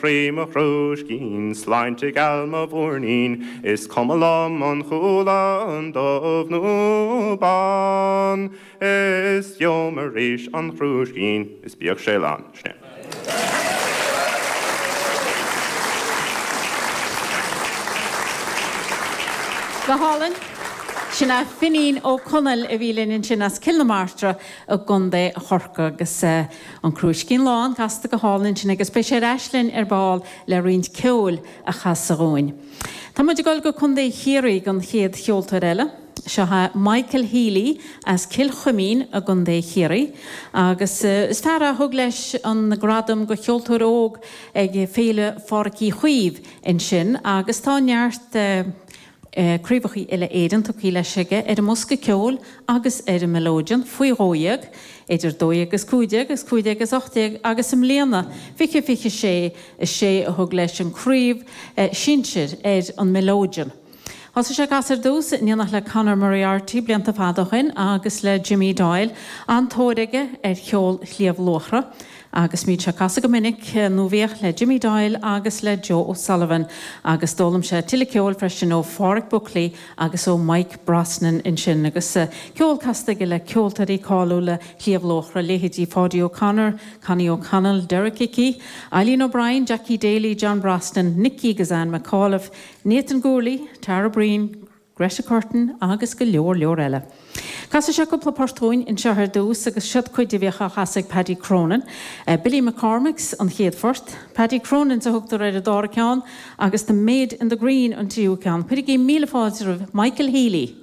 Croí mo chrúiscín, sláinte geal mo mhúirnín, is cuma liom an cualann dubh nó bán, is gheobham arís an crúiscín is bíodh sé lán. Sin é. Go hálainn. Sin é Finín Ó Conaill a bhí linn ansin as Cill na Martra i gContae Chorcaí agus An Crúiscín Lán casta go hálainn ansin agus beidh sé ar ais linn ar ball le roinnt ceoil a chasadh dhúinn. Tá muid ag dul go Contae Chiarraí don chéad cheoltóir eile. Seo é Michael Healy as Cill Chuimín i gContae Chiarraí agus is fear é a thug leis an gradam do cheoltóir óg ag Féile Phádraic Uí Chaoimh ansin agus tá neart Craobhacha Uile-Éireann tugtha leis aige ar an mbosca ceoil agus ar an mileoidean, faoi 12, idir 12 agus 15 agus 15 agus 18 agus i mbliana, 20 26, is é a thug leis an craobh sinsir ar an mileoidean. Thosaigh sé ag casadh ar dtús in éineacht le Conor Moriarty blianta fada ó shin agus le Jimmy Doyle, an-tóir aige ar cheol Shliabh Luachra. Agus bíonn sé ag casadh go minic, nó bhíodh, le Jimmy Doyle agus le Joe O'Sullivan agus d'fhoghlaim sé tuilleadh ceoil freisin ó Pháraic Buckley agus ó Mike Brosnan ansin. Agus ceol casta aige le ceoltóirí cáiliúla Shliabh Luachra, leithéidí Pháidí O'Connor, Connie O'Connell, Derek Hickey, Eileen O'Brien, Jackie Daly, John Brosnan, Nicky agus Anne McAuliffe, Nathan Gourley, Tara Breen, Greta Curtin agus go leor leor eile. Casfaidh sé cúpla port dhúinn anseo ar dtús agus siod cuid a bhíodh á chasadh ag Paddy Cronin. Billy McCormick's an chéad phort, Paddy Cronin's a thugtar ar an dara ceann agus The Maid in the Green an tríú ceann. Cuirigí míle fáilte roimh Michael Healy.